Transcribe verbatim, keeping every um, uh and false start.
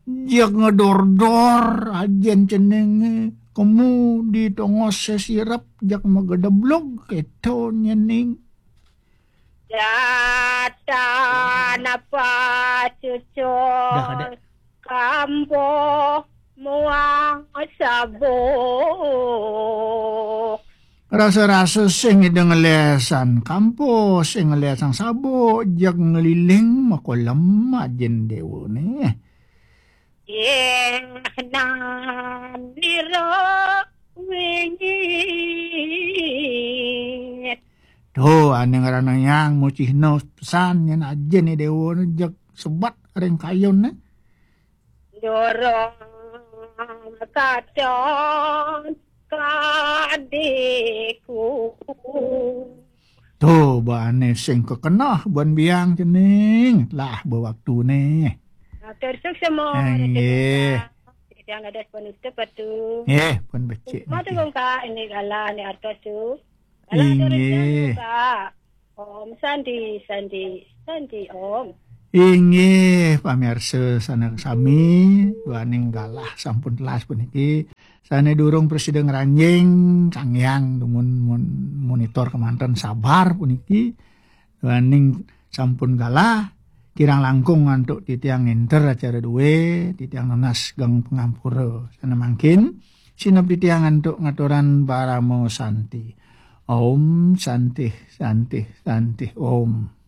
Jak ngedor-dor, ajin ceninge. Kemu di tongos sesirep, jak megedeblog, keto nyening. Data napa cucur. Dah, Kadek. Kampo muang sabuk. Rasa-rasa sing ida ngelesan kampo, sing ngelesan sabuk, jak ngeliling makolem ajin dewa ne. Yang nan nira wingit. Tuh, ane ngerana yang mucihno pesan yang ajin ni dewa ne jak sebat ring kayun ne. Dorong katon kadiku. Tuh, bane sing kekenah ban biang cening. Lah, bewaktune. Atur suksema. Nggih. Yang ada penutup atu. Nggih, pun becik. Mata niki. Kong Kak, ini galah ni artos tu. Galah tu. Inggih. Rezeki, Kak. Om Santi, Santi, Santi Om. Inggih, pamirsa sané sami, duaning galah sampun telas puniki. Sané durung prasida ngranjing, Sang Hyang dumun mun-, monitor kemanten sabar puniki. Duaning sampun galah, kirang langkung antuk titiang nginter acara dué, titiang nunas geng pangampura. Sané mangkin, sineb titiang antuk ngaturan parama santi. Om Santih, Santih, Santih Om.